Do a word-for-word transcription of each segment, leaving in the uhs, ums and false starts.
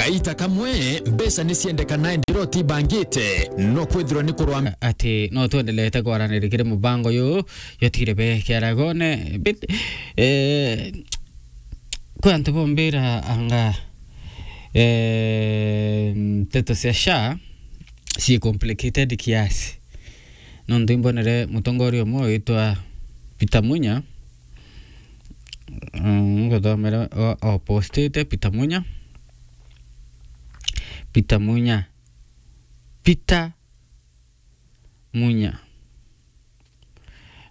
Aita kamwe, mbeca ni ciendekana, indi uria utibangite, no kwithirwa ni kurwa. Ati no twendelete kwaraniria kiri mubango uyu, yotigire be kiaragone. Bit-, eh, kwi antu bombira anga, eh, nteto cia SHA cii complicated kiasi. Nontu imbonere mutongoria umwe witwa Peter Munya, mm, nguthomere o, o postite Peter Munya. Peter Munya. Peter Munya.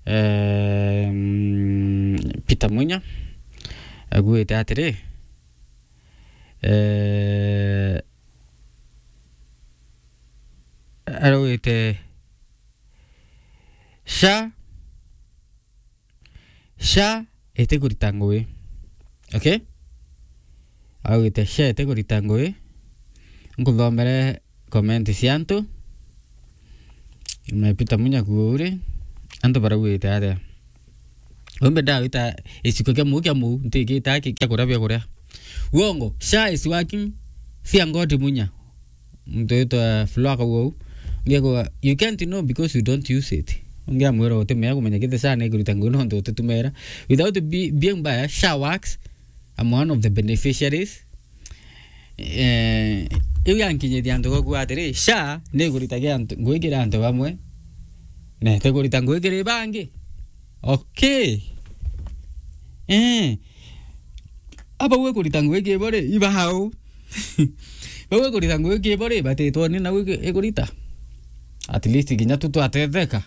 Ehm, Peter Munya augite atiri, eh, araugite SHA, SHA itikurita ngui. Okay? Augite SHA itikurita ngui. Nkuthomere comment cia antu. Na Peter Munya kuuri, antu baraugite atia? Umbe ndawita iciko kia muu kia muu, ntikita ki-, kia kuria bia kuria. Uongo, SHA is working, fear God Munya. Muntu witwa Flo akauga uu. Ngiakuga, you can't know because you don't use it. Ungi amwira utimea kumenya kithii SHA ni ikurita ngui nontu utitumera. Without be-, being biased, SHA works. I'm one of the beneficiaries. Eh, iu yankinyithia antu gwaku atiri, SHA ni ikuritagia antu, ngui kiri antu bamwe, na itikurita ngui kiri bangi. Okay. Eh. Aba gwe kurita ngui kiri bo ri, iba hau. Bau gwe kurita ngui kiri bo ri, batitwoni na gwi ikurita. At least kinya tu twatetheka.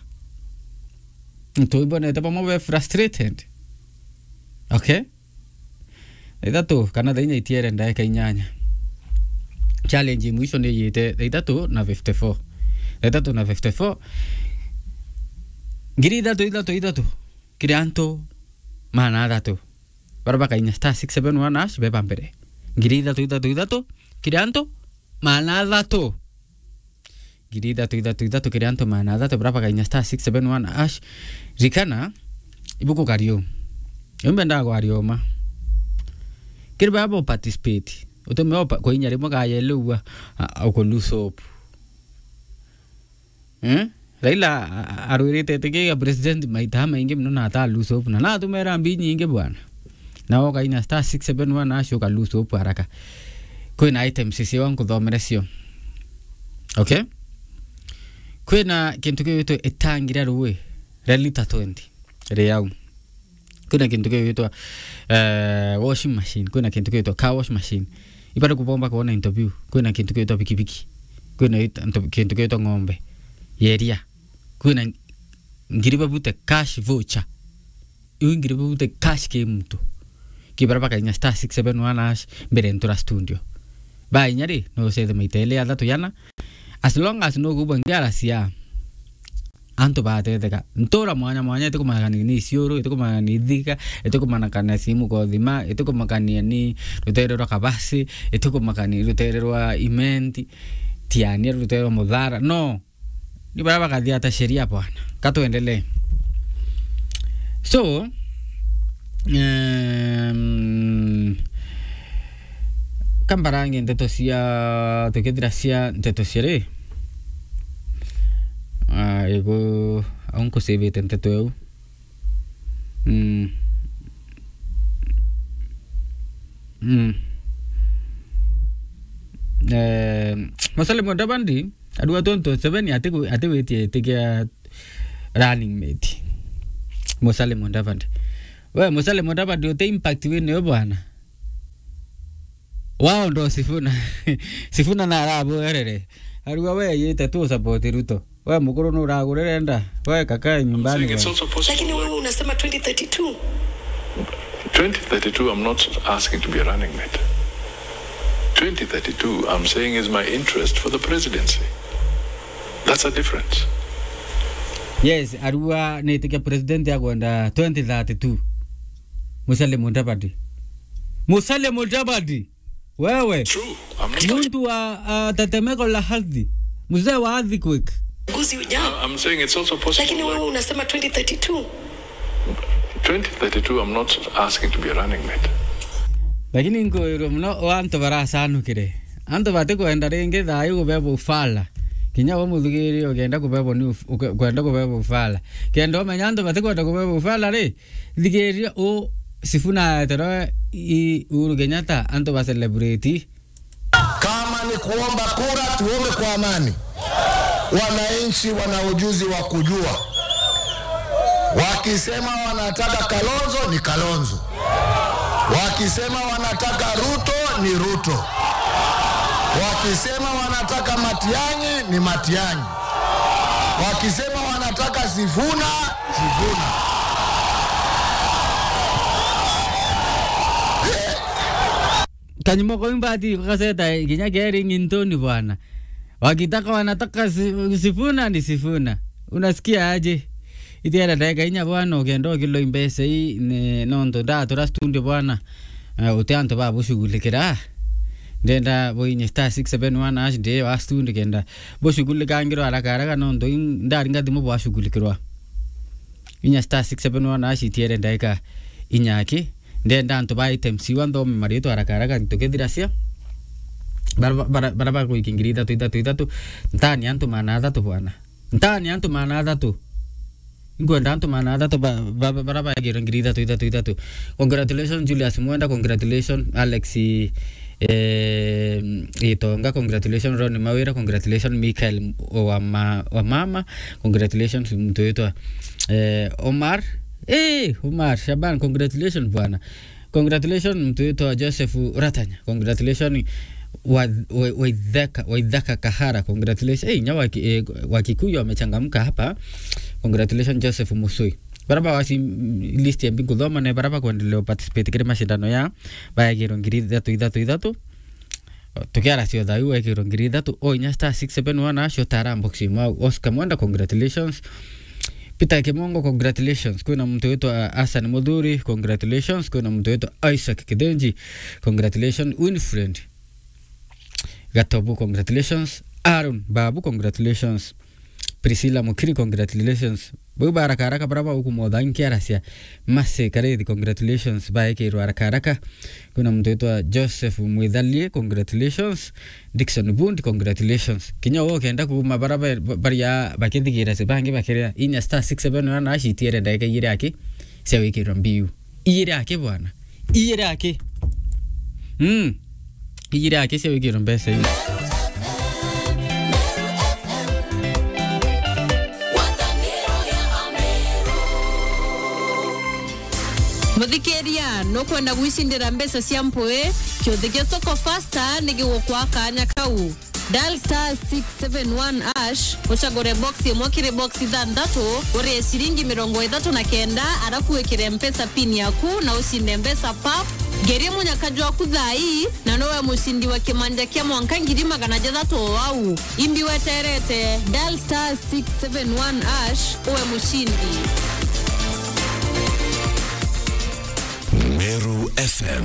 Tuibonete bamwe be frustrated. Okay? Thaa ithatu kana thaa inya itiere ndaika inyanya. Challenge mwisho ni yite thaa ithatu na fifty-four. Thaa ithatu na fifty-four. Ngiri ithatu, ithatu, ithatu. Kiri antu maana athatu. Bara bakainya star six seven one hash beba mbere. Ngiri ithatu, ithatu, ithatu. Kiri antu maana athatu. Ngiri ithatu, ithatu, ithatu kiri antu maana athatu bara bakainya star six seven one hash. Rikana, ibuku kario. Umbe ndagwaria uma. Kiri baba bo participate. Utume opa, kuinya rimwe gaya liu a, a, uku lose hope. Eh? Raila a, a, arwirite itikiga president maita maingi muno na ata lose hope. Na natumera mbi nyingi bwana. Na ukaina star six seven one hash uka lose hope haraka. Kwina items cio nkuthomere cio. Okay? Kwina kintu kiwitwa itangi ria rui ria lita twenty ri au. Kwina kintu kiwitwa, eh, washing machine. Kwina kintu kiwitwa car wash machine. Ibari kubomba kuona into biu. Kwina kintu kiwitwa pikipiki. Kwina it-, into, kintu kiwitwa ng'ombe. Yeria. Kwina ngiri babute cash voucher. Iu ngiri babute cash ki muntu. Ki bara bakainya star six seven one hash mbere ntura studio. Bainya ri, no ucethe maita eli athatu yana. As long as no kubwa ngiara cia antu batetheka. Ntura mwanya mwanya, itikumakania ni Isiolo, itikumakania ni Thika, itikumakania simu kothima, itikumakania ni rutere rwa Kabasi, itikumakania rutere rwa Imenti, Tiania, rutere rwa Muthara. No, ni bara bakathia ta sheria bwana. Ka tuendelee. So, um, kambarange nteto cia, tukithira cia nteto cia ri? Ah, igu, au nkusivite nteto eu. Mm. Mm. Eh, Musalia Mudavadi, arua twenty twenty-seven atiku-, atiwitie itikia running mate. Musalia Mudavadi. We, Musalia Mudavadi, uti impact winayo bwana. Wao ndo Sifuna. Sifuna na arabuerere. Arua we yite tu support Ruto. We mukuru nuragurire nda. We kakae nyumbani we. Lakini wewe unasema twenty thirty-two. Twenty thirty-two, I'm not asking to be a running mate. Twenty thirty-two, I'm saying is my interest for the presidency. That's a difference. Yes, arua nitikia president agwenda twenty thirty-two. Musalia Mudavadi. Musalia Mudavadi. Wewe. True. I'm not. Muntu wa, ah, tetemeko la ardhi. Mzee wa earthquake. Uchaguzi ujao. I, I'm saying it's also possible. Lakini wewe unasema twenty thirty-two. Twenty thirty-two, I'm not asking to be a running mate. Lakini nkwirwa muno o antu baracanukire. Antu batikwenda ringi thayu kubebwa ufala. Kinya we muthigiria ukienda kubebwa ni uf-, uke-, ukwenda kubebwa ufala. Kenda umenya antu batikwenda kubebwa ufala ri, thigiria u Sifuna eterwe i Uhuru Kenyatta antu ba celebrate. Kama ni kuomba kura, tuombe kwa amani. Wananchi wana ujuzi wa kujua. Wakisema wanataka Kalonzo, ni Kalonzo. Wakisema wanataka Ruto, ni Ruto. Wakisema wanataka Matiang'i, ni Matiang'i. Wakisema wanataka Sifuna, Sifuna. Kanyumo kau imbati gakaseta kinya keri ng'intuni bwana. Wakitaka wanataka si-, Sifuna ni Sifuna. Unasikia aje? Itiere ndagika inya bwana, ukenda ukiloi mbeca ii, ni, nontu ndatura studio bwana. Eh, uti antu ba bushughulikira. Ndenda buinye star six seven one hash ndi wa studio kenda bushughulikangirwa haraka haraka nontu in-, ndaringa thimu bwashughulikirwa. Inya star six seven one hash itiere ndagika inya aki. Ndenda antu ba items iwa nthome maritwa haraka haraka tukithiracia. Bara, bara, bara bagwikia ngiri ithatu, ithatu, ithatu. Ntani antu maana athatu bwana. Ntani antu maana athatu. Nkwenda antu maana athatu ba, ba, ba, bara bagirwe ngiri ithatu, ithatu, ithatu. Congratulations Julius Mwenda, congratulations Alex, eh, Itonga, congratulations Ron Mawira, congratulations Michael wa ma-, wa mama, congratulations mtu witwa, eh, Omar. Eh, Omar Shaban, congratulations bwana. Congratulations mtu witwa Joseph Ratanya. Congratulations wa, wa, Waithaka, Waithaka Kahara. Congratulations. Eh, nya wa ki-, eh, wa Kikuyu amechangamka hapa. Congratulations Joseph Musui. Bara ba wasi, mm, list ya mbingu thoma ne bara ba kuendelea participate kiri mashindano ya baegirwo ngiri ithatu, ithatu, ithatu. Tukiara cio thayu wekirwo ngiri ithatu, o inya star six seven one hash utara box imwe. Oscar Mwenda, congratulations. Peter Kimongo, congratulations. Kwina muntu witwa Hassan Muthuri, congratulations. Kwina muntu witwa Isaac Kithenji, congratulations. Winfred Gatobu, congratulations. Aaron Babu, congratulations. Priscilla Mukiri, congratulations. Bau ba haraka haraka bara baukumotha nkiaracia. Mase Karethi, congratulations. Baekirwe haraka haraka. Kwina muntu witwa Joseph Mwithalie, congratulations. Dickson Bundi, congratulations. Kinya we ukenda kuuma bara ba-, ba-, baria bakithigira cia bangi bakiria inya star six seven one hash itiere ndagika igiri aki cia gwikirwa mbiu. Igiri aki bwana. Igiri aki. Mm. Igiri aki cia gwikirwa mbeca ii. Muthikiria, nukwenda gwicindira mbeca cia mpui? Kiuthi kia Soko Fasta ni gigukwa kanya kau. Dial star six seven one hash, ucagure box imwe kiri box ithanthatu, urie ciringi mirongo ithatu na kenda, arafu wikire Mpesa pin yaku na ucinde mbeca pap. Ngerie munyaka jwaku thaa ii, na nowe mucindi wa kimanja kia mwanka ngiri magana jathatu o au. Imbi weterete, dial star six seven one hash, uwe mucindi. Meru F M.